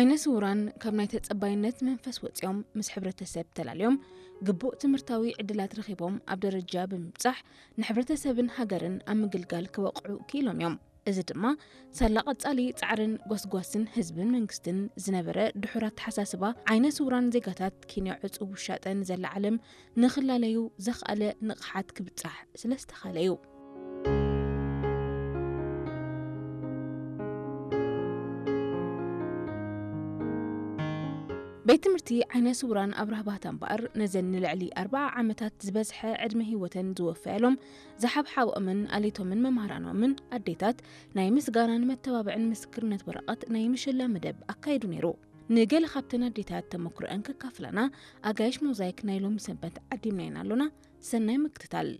ዓይነ ስውራን ካብ ናይ ተጸባይነት መንፈስ ወጺኦም ምስ ሕብረተሰብ ተላልዮም ግቡእ ትምህርታዊ ዕድላት ረኺቦም ኣብ ደረጃ ብምብጻሕ ንሕብረተሰብን ሃገርን ኣብ ምግልጋል ክበቕዑ ክኢሎም እዮም። እዚ ድማ ሳላ ቀጻሊ ጻዕርን ጎስጓስን ህዝብን መንግስትን ዝነበረ ድሑር ኣተሓሳስባ ዓይነ ስውራን ዜጋታት ኬንያ ዕጹው ውሻጠ ንዘላ ዓለም ንኽላለዩ ዘኽኣለ ንቕሓት ክብጻሕ ስለ ዝተኻለ እዩ። ቤት ትምህርቲ ዓይነ ስውራን ኣብርሃ ባህታ እምበኣር ነዘን ንልዕሊ ኣርብዓ ዓመታት ዝበዝሐ ዕድመ ህይወተን ዝወፈያሎም ዝሓብሓብኦምን ኣሌቶምን መምሃራኖምን ኣዴታት ናይ ምስጋናን መተባብዕን ምስክርነት ወረቐት ናይ ምሽላ መደብ ኣካይዱ ነይሩ። ንገለ ካብተን ኣዴታት ተመክሮአን ከካፍላና ኣጋይሽ ሞዛይክ ናይ ሎሚ ሰንበት ዓዲምናየን ኣሎና። ሰናይ ምክትታል።